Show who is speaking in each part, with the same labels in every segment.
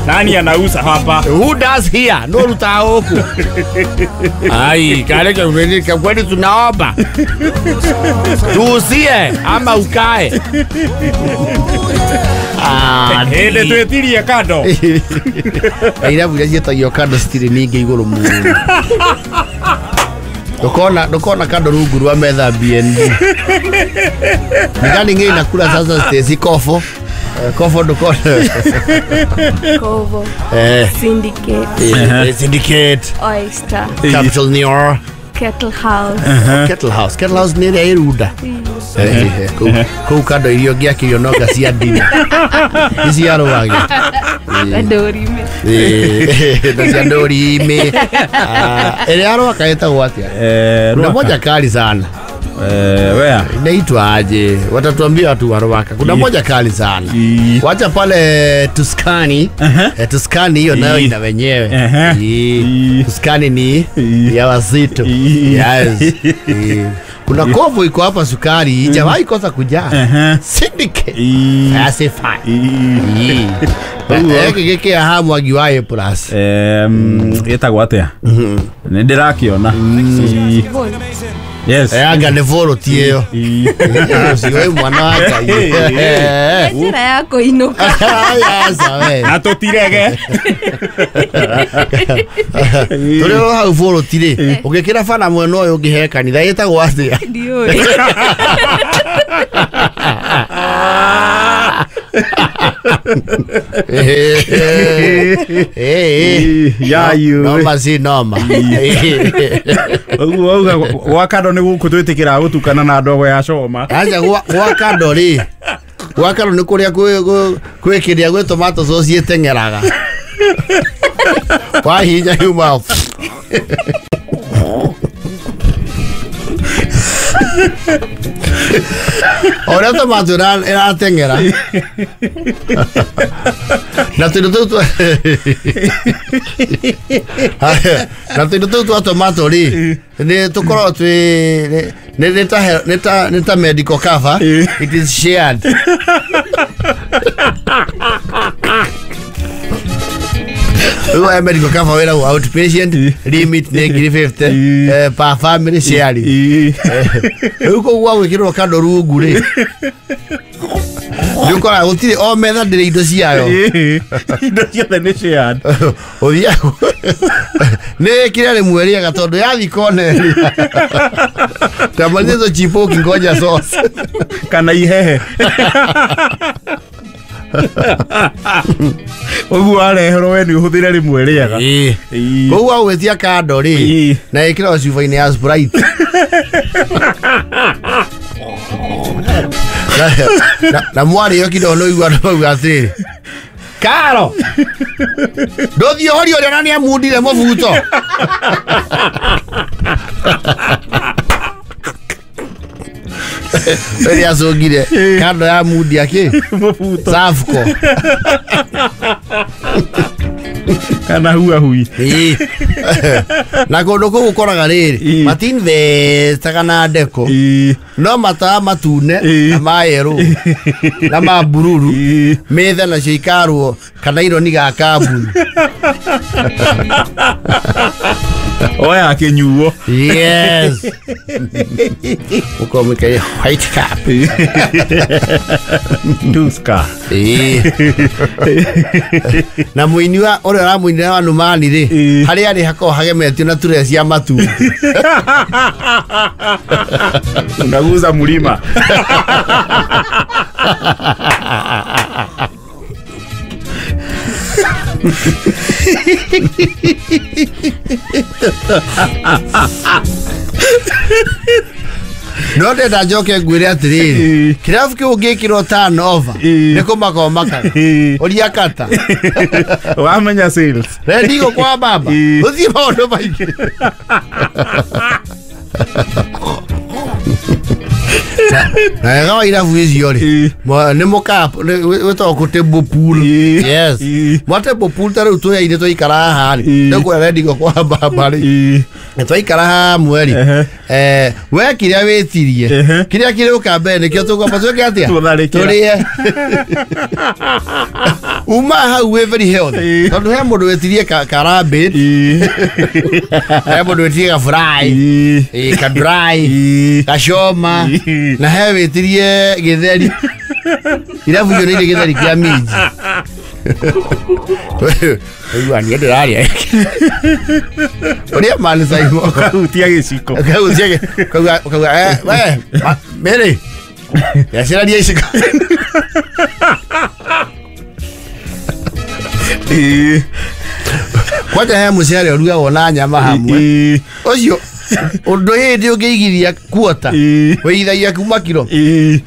Speaker 1: Nani anauza hapa?
Speaker 2: Who does here? No ruta huku. Ai, kale kwa kweli tunaomba. Tuuzie ama ukae. Ah,
Speaker 1: hende twetirie kando.
Speaker 2: Irabu iria ciĩtagio kando citirĩ ningĩ igũrũ mũno. Ndũkona kando rungu rwa metha BNB. Nigani ng'ĩ inakula sasa Stacy Kofo. Kofo ndũkona.
Speaker 3: Kovo. Syndicate.
Speaker 2: Syndicate.
Speaker 3: Oyster.
Speaker 2: Capital New.
Speaker 3: Kettle House.
Speaker 2: Kettle House. Kettle House nĩ ĩrĩa ĩrunda. Kũu kando irio ngĩakĩrio nonga cia ndini. Nĩ cia rwagĩ.
Speaker 3: Na ndũrime.
Speaker 2: Na cia ndũrime. Ĩrĩa ya Rwaka ĩtagwo atĩa? Kuna moja kali sana.
Speaker 1: Wea.
Speaker 2: Inaitwa aje? Watatuambia watu wa Rwaka. Kuna moja kali sana. Wacha pale Tuskani. Tuskani hiyo nayo ina wenyewe. Tuskani ni ya wazito. Yes. Kuna kovu iko hapa sukari, ijawahi kosa kujaa. Syndicate. That's fine. Gĩkĩ haha mwagi wa A plus.
Speaker 1: Ĩtagwo atĩa? Nĩ ndĩrakĩona. Yes.
Speaker 2: Anga nĩ bũrũti ĩyo. Ũcio mwana wa Ngai.
Speaker 3: Njĩra ya kũinũka.
Speaker 1: Na tũtirege.
Speaker 2: Tũrĩ o hau bũrũti rĩ, ũngĩkĩra bana mwena ũyũ ũngĩhe kanitha ĩtagwo atĩa?
Speaker 3: Ndiũĩ.
Speaker 2: Noma si noma.
Speaker 1: Ũguo auga gwa kando nĩ gũkũ twĩtĩkĩra gũtukana na ndogo ya coma.
Speaker 2: Acha gwa kando rĩ. Gwa kando nĩ kũrĩa kwĩ kĩrĩa gwĩ tomato sauce ĩteng'eraga. Wahinya yuma. Ora tomato ĩrateng'era. Na tũindo tũu na tũindo tũu twa tomato rĩ nĩ tũkoragwo twĩ nĩ ta medical cover. It is shared. Rĩu medical cover wĩragwo outpatient limit nĩ 1,050 per family sharing. Rĩu koguo gwagwĩkĩrwo kando rungu rĩ nĩ ũkoraga gũtirĩ o metha ndĩrĩ indo ciayo.
Speaker 1: Indo ciothe nĩ shared.
Speaker 2: Ũthiaga nĩ kĩrĩa rĩmwe rĩega tondũ yathi kona ĩrĩa tamaliza chipo ukingoja sauce
Speaker 1: kana ihehe. Ũguo wareherwo we nĩ ũhũthĩre rĩmwe rĩega.
Speaker 2: Koguo wagwĩtia kando rĩ na ĩkĩrwo cuba-inĩ ya Sprite. Na mwarĩo kidogo no igua andũ mauga atĩrĩrĩ, Karo ndũthiĩ ũhorie ũrĩa na nĩamundire mũbuto. Rĩrĩa acũngire kando ya mundia kĩ
Speaker 1: mũbuto
Speaker 2: Safco
Speaker 1: kana huahui.
Speaker 2: Na kũndũ kũu ũkoraga rĩrĩ matinvestaga na ndeko no matawa matune na ma yerũ na ma bururu metha nacio ikarwo kana ironi ga kambuni.
Speaker 1: Oya kĩnyuo.
Speaker 2: Yes. Ũkorwo mũikaire white cap.
Speaker 1: Tuska.
Speaker 2: Na mũini wa ũrĩa ũramũinĩra wa Numani rĩ harĩa arĩ hakoragwo hagemetio na ture cia matumbĩ.
Speaker 1: Unaguza mlima.
Speaker 2: No ndenda njoke ngwĩre atĩrĩrĩ, kĩrabu kĩu ũngĩkĩrwo turnover nĩ kũmaka ũmakaga. Ũria kata.
Speaker 1: Wamenya sales.
Speaker 2: Rendigo kwa baba. Ũthiĩ maũndũ maingĩ. Na wega wa irabu icio rĩ, nĩ mũka wĩtagwo kũ table pool. Yes. Mwa table pool ta rĩu twĩyaine twaikara haha rĩ, nĩkuoya rendigo kwa baba rĩ, twaikara hamwe rĩ, we kĩrĩa wĩtirie, kĩrĩa kĩrĩũka mbere nĩkĩo tũkwamba twĩke atĩa? Tũrĩe. Uma hau wĩ very healthy. Tondũ he mũndũ wĩtirie ka rabbit, he mũndũ wĩtirie ka fry, ka dry, ka choma, na he wĩtirie gĩtheri. Irabu icio nĩ irĩ gĩtheri kĩa minji. Ũigua niĩ ndĩrarĩa. Ũrĩa mani Simon.
Speaker 1: Ũkahutia gĩciko.
Speaker 2: Ũkahutia gĩciko. Ũkauga we, Mary. Yaciraria iciko. Kwanja he mũcere ũrugagwo na nyama hamwe. Ũcio ũndũ hĩndĩ ũngĩigithia kuota wĩigithagia kuma kiro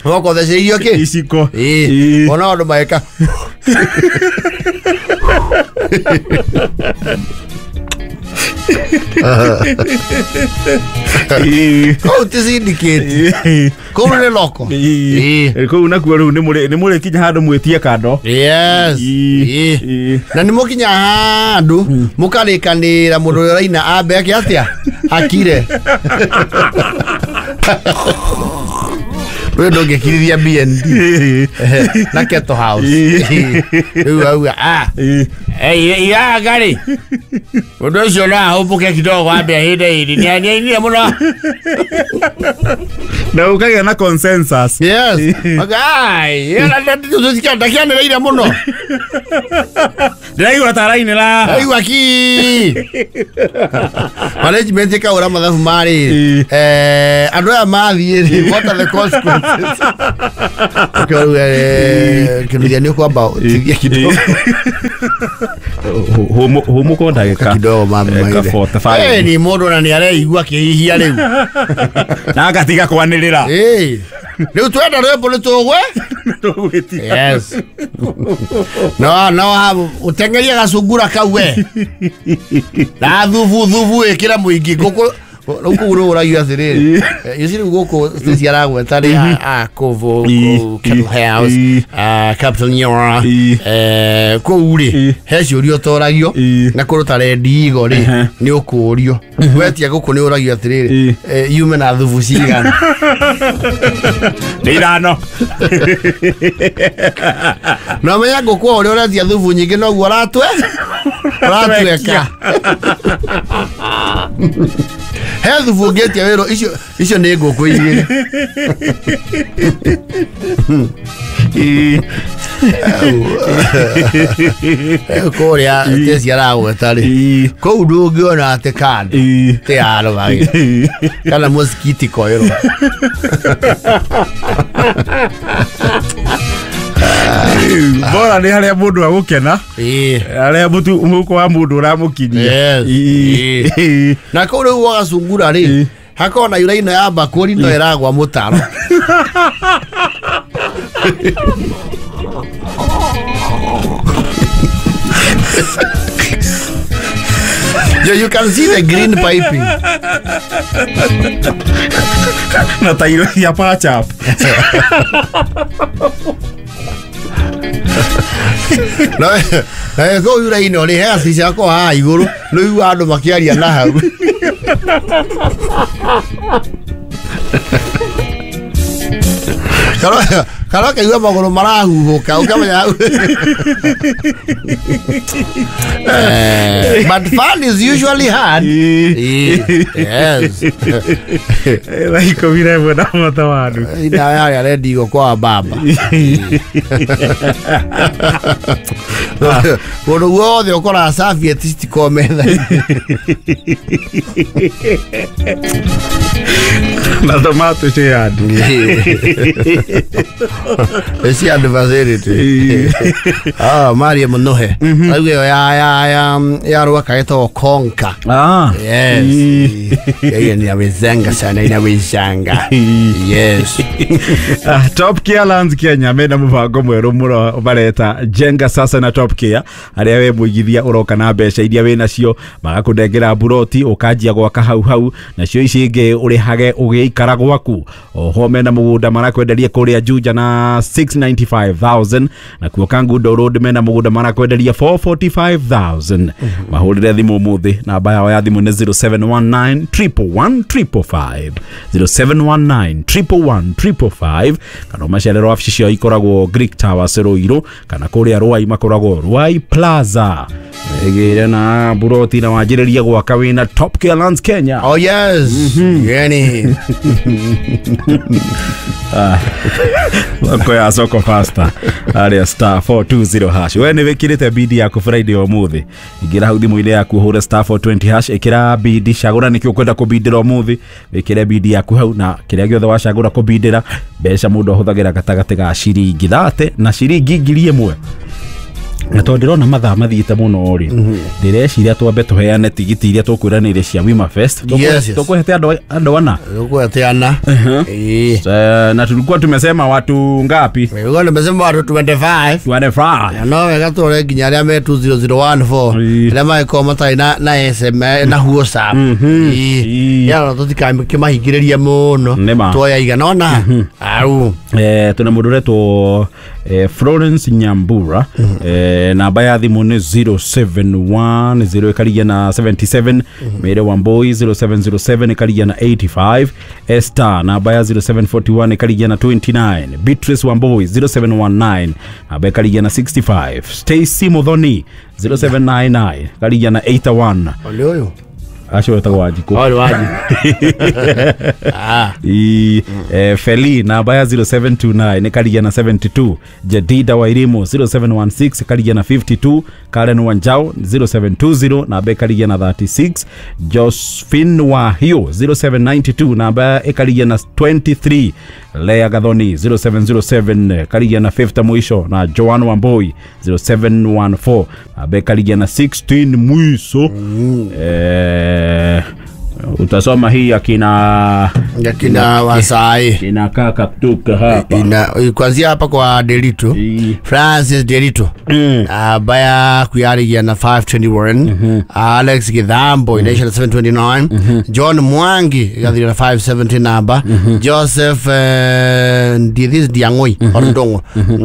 Speaker 2: ũgakothecerio kĩ
Speaker 1: iciko.
Speaker 2: Ona andũ magĩka. Kũu ti syndicate. Kũu nĩ loko.
Speaker 1: Kũu nakuo rĩu nĩ mũrĩkinya handũ mwĩtie kando.
Speaker 2: Yes. Na nĩ mũkinya handũ mũkarĩkanĩra mũndũ ũrĩa ũraina ambe ake atĩa akire. Rĩu ndũngĩkirithia BND na Kettle House. Rĩu auga iraga rĩ ũndũ ũcio no ahũmbũke kidogo ambe ahĩnde hĩndĩ nĩ ainire mũno.
Speaker 1: Na ũkagĩa na consensus.
Speaker 2: Yes. Ndakianĩrĩire mũno.
Speaker 1: Ndĩraigua ta arainĩra.
Speaker 2: Ndaigua ki. Management ĩkaũra mathabu marĩ. Andũ aya mathiĩ rĩ, what are the consequences? Ũkĩrauga kĩnuthia nĩ ũkwamba ũtithie kidogo.
Speaker 1: Hũmũka ndagĩka
Speaker 2: kidogo mama.
Speaker 1: 45.
Speaker 2: Ni mũndũ na nĩ areigua akĩhihia rĩu.
Speaker 1: Na agatiga kwanĩrĩra.
Speaker 2: Rĩu twenda rwĩmbo nĩ tũgwe? Yes. No no ũteng'erie gacungura kau we. Na thubu thubu ĩkĩra mũingĩ ngũkũ rĩu kũu nĩ ũragio atĩrĩrĩ. Ici rĩu gũkũ staci aragweta nĩ a Kovo, Kettle House, Capital Nyora, kũu rĩ he ciũria ũtoragio na kũndũ ta Red Eagle rĩ nĩ ũkũũrio. Wetia gũkũ nĩ ũragio atĩrĩrĩ, yume na thubu cigana?
Speaker 1: Nĩ ithano.
Speaker 2: Na ũmenye ngũkũ o ũrĩa ũretia thubu nyingĩ noguo ũratweka. He thubu ũngĩtia wĩrwo icio nĩ ngũkũ igĩrĩ. Kũrĩa teci aragweta rĩ, kũu ndũngĩona atĩ kando tĩ ya rũgagĩ kana mũsikiti koĩrwo.
Speaker 1: Bora nĩ harĩa mũndũ agũkena, harĩa mũhuko wa mũndũ ũramũkinyia.
Speaker 2: Na kũu rĩu wagacungura rĩ, hakoragwo na yura ĩno ya mbakũri no ĩragwa mũtaro. You can see the green piping.
Speaker 1: Na tairo ya patch up.
Speaker 2: Na kũu yura ĩno rĩ, he gacicio gako haha igũrũ, nĩ ũiguaga andũ makĩaria na hau. Kana ũkaigua magũrũ marahuhũka, ũkamenya hau. But fun is usually hard. Yes.
Speaker 1: Thaa 11 na mwata wa nuthu.
Speaker 2: Ina harĩa Red Eagle kwa baba. Kũndũ guothe ũkoraga serviette citikoragwo metha-inĩ.
Speaker 1: Na tomato shared.
Speaker 2: Eci adversity. Ah, Maria Munohe. Auge ya Rwaka etagwo Konka. Yes. Yeye ni awezanga sana, inawezanga. Yes.
Speaker 1: Top Care Lands Kenya mena mubango mweru muno bareta jenga sasa na Top Care aria we muigithia uroka na mbeca iria we nacio magakundengera buroti ukanjia gwaka hau hau nacio ici ingi urihage ugiikara gwaku oho mena mugunda marakwenderia kuria Juja na 695,000 na kuo Kangundo Road mena mugunda marakwenderia 445,000. Mahurire thimu umuthi namba yao ya thimu ni 0719 111 555 0719 111 555 kana macerero wabici ciao ikoragwo Greek Towers Ruiru kana kuria Ruai makoragwo Ruai Plaza. Egere na buroti na wanjiriria gwaka wina Top Care Lands Kenya.
Speaker 2: Oh yes. Yani.
Speaker 1: Wako ya soko faster aria star 420 hash. We ni wikirite bidi yaku Friday umuthi. Ingira hau thimu-inĩ yaku hure star 420 hash ikira bidi cagũra nĩkĩ ũkwenda kũbindĩra umuthi wikire bidi yaku hau na kĩrĩa gĩothe wacagũra kũbindĩra mbeca mũndũ ahũthagĩra gatagatĩ ga ciringi 30 na ciringi 1000. Na tondũ ndĩrona mathaa mathiĩte mũno rĩ, ndĩreciria twambe tũheane tigiti iria tũkwĩranĩire cia Wima Fest. Tũkũhete andũ ana.
Speaker 2: Tũkũhete ana.
Speaker 1: Na tulikuwa tumesema watu ngapi?
Speaker 2: Tulikuwa tumesema watu 25.
Speaker 1: 25.
Speaker 2: No wega tũrore nginya arĩa me 20014 arĩa magĩkorwo matarĩ na SMS na WhatsApp. Ya tũtikamĩkĩmahingĩrĩrie mũno. Tuoya igana ona. Au.
Speaker 1: Tuna mũndũ ũretwo Florence Nyambura. Namba ya thimu ni 0710 ĩkarigia na 77, Mary Wambui 0707 ĩkarigia na 85, Esther namba ya 0741 ĩkarigia na 29, Beatrice Wambui 0719 namba ĩkarigia na 65, Stacy Muthoni 0799 ĩkarigia na 81.
Speaker 2: Ole ũyũ
Speaker 1: acio wetagwo Wanjikũ.
Speaker 2: Ole Wanjikũ.
Speaker 1: Feli namba ya 0729 ĩkarigia na 72, Jedida Wairimu 0716 ĩkarigia na 52, Karen Wanjao 0720 namba ĩkarigia na 36, Josephine Wahio 0792 namba ĩkarigia na 23, Lea Gathoni 0707 ĩkarigia na 50 mwisho na Joan Wambui 0714 namba ĩkarigia na 16 mwisho. Utasoma hii akina
Speaker 2: Wasai
Speaker 1: kina kaka kutoka hapa
Speaker 2: ina kuanzia hapa kwa Delito. Francis Delito baya kuyarigia na 521, Alex Githambo inaisha na 729, John Mwangi igathira na 570 namba, Joseph Ndithis Diangoi Orndongo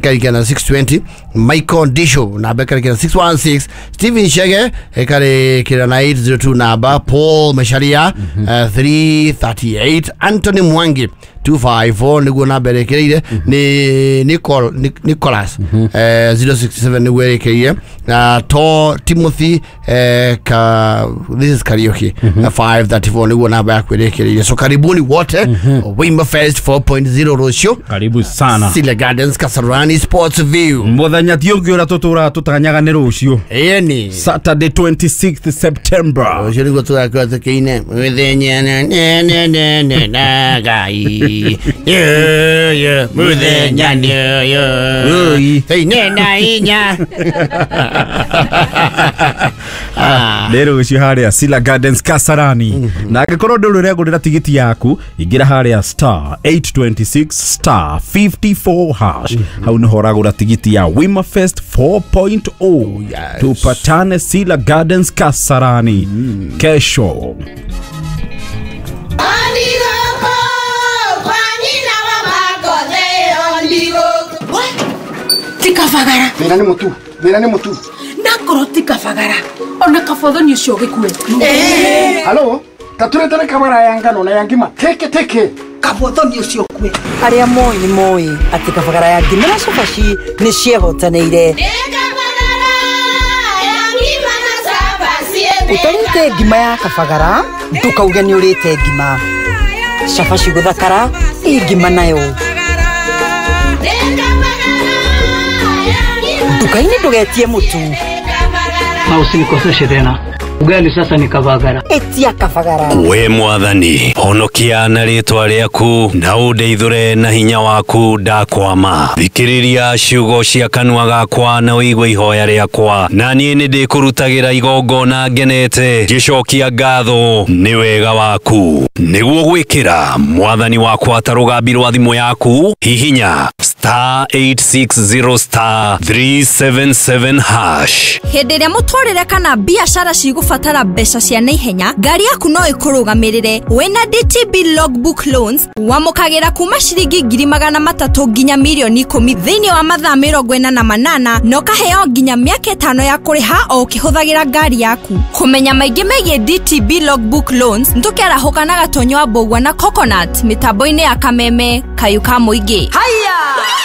Speaker 2: karikia na 620, Michael Disho namba karikia na 616, Stephen Shege karikia na 802 namba, Paul Mesharia 338, Anthony Mwangi 254 niguo namba ĩrĩkĩrĩire ni Nicholas 067 niguo ĩrĩkĩrĩire na to Timothy this is Karaoke 534 niguo namba yaku ĩrĩkĩrĩire. So karibuni wote Wima Fest 4.0 rũciũ.
Speaker 1: Karibu sana
Speaker 2: Sile Gardens Kasarani Sports View.
Speaker 1: Mũthenya ti ũngĩ ũrĩa tũtũraga tũtanyaga nĩ rũciũ.
Speaker 2: Ĩni
Speaker 1: Saturday 26th September.
Speaker 2: Rũciũ nĩguo tũgakorwo tũkĩine mũthenya ne ne na Ngai. Yeah, mũthenya nĩ ũyũ. Ĩine na inya.
Speaker 1: Nĩ rũciũ harĩa Sila Gardens Kasarani. Na angĩkorwo ndũrĩ ũregũrĩra tigiti yaku ingĩra harĩa star 826 star 54 hash. Hau nĩho ũragũra tigiti ya Wima Fest 4.0. Tupatane Sila Gardens Kasarani kesho.
Speaker 4: Tikafagara.
Speaker 5: Thĩna nĩ mũtu. Thĩna nĩ mũtu.
Speaker 4: Nakorwo tikafagara. Ona kabothoni ũcio ũgĩkue.
Speaker 5: Halo, taturetere kabara ya ngano na ya ngima. Teke teke.
Speaker 4: Kabothoni ũcio ũkue.
Speaker 6: Arĩa moĩ nĩ moĩ atĩ kabagara ya ngima na cabaci nĩ ciehotanĩire. Ũtarĩte ngima ya kabagara ndũkauge nĩ ũrĩte ngima. Cabaci gũthakara ĩ ngima nayo. Nduka-inĩ ndũgetie mũtu.
Speaker 7: Na usinikoseshe tena.
Speaker 6: Ugali sasa ni Kabagara.
Speaker 7: Etia Kabagara.
Speaker 8: We mwathani, honokia na rĩtwa rĩaku na ũndeithũre na hinya waku ndakwama. Thikĩrĩria ciugo cia kanua gakwa na ũigue ihoya rĩakwa, na niĩ nĩndĩkũrutagĩra igongona ngenete ngĩcokia ngatho nĩ wega waku. Nĩguo gwĩkĩra mwathani wakwa ta rũgambi rwa thimũ yaku, hihinya star 860 star 377 hash.
Speaker 9: Hĩndĩ ĩrĩa mũtũrĩre kana biacara cigũbatara mbeca cia naihenya, ngari yaku no ĩkũrũgamĩrĩre. Wĩna DTB Logbook Loans wamũkagĩra kuma ciringi 300,000 nginya 10,000,000 thĩinĩ wa mathaa 48 na ũkaheo nginya mĩaka 5 ya kũrĩha o ũkĩhũthagĩra ngari yaku. Kũmenya maingĩ megiĩ DTB Logbook Loans, nĩtũkĩarahũka na Gatonyo wa Mbũgua na Coconut mĩtambo-inĩ ya Kameme Kayũ ka Mũingĩ.
Speaker 7: Haya.